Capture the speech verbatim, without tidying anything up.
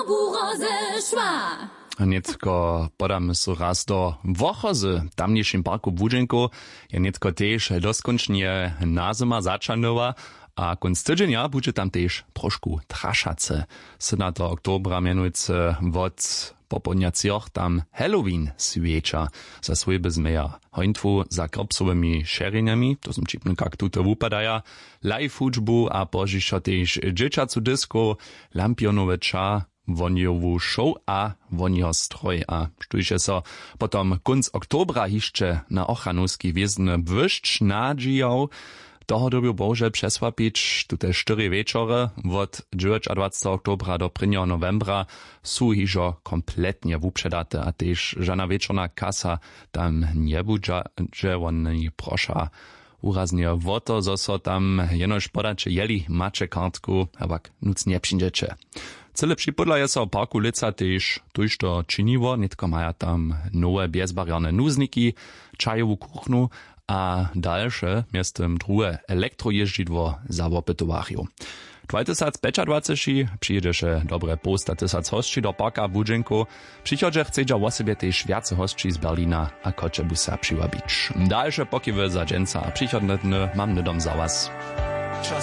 Buroze šła. A nětko podamy so raz do Wochozy. W tamnišim parku błudźenkow je nětko tež doskónčnje na zyma začanyła. A kónc tydźenja budźe tam tež trošku trašace. Synateho oktobra mjenujcy wot popołdnja třoch tam Halloween swjeća. Za swójby změja hońtwu za krpsowymi šerjenjemi, to są ćipny kak tute wupadaja, live hudźbu a pozdźišo tež dźěćacu diskow, lampionowy ča, wonjowu šow a wonjo stroj. A štóž je so potom kónc oktobra hišće na ochranowski wězny błyšć nadźijał, toho dyrbju bohužel přesłapić. Tute štyri wječory wot dźewjećadwaceteho oktobra do prěnjeho nowembra su hižo kompletnje wupředate a tež žana wječorna kasa tam njebudźa, dźe woni proša wuraznje wo to, zo so tam jenož podaće, jeli maće kartku, a pak nuc njepřińdźeće. Cyle připodla je so w parku lětsa tež tójšto činiło. Nětko maja tam nowe bjezbarjerne nuzniki, čajowu kuchnu a dalše, mjeztym druhe elektrojězdźidło za wopytowarjow. Dwatysacpjećadwaceći přijědźeše dobre połsta tysac hosći do parka błudźenkow. Přichodźe chcedźa wosebje tež wjace hosći z Berlina a Choćebuza přiwabić. Dalše pokiwy za dźensa a přichodne dny mam hnydom za was.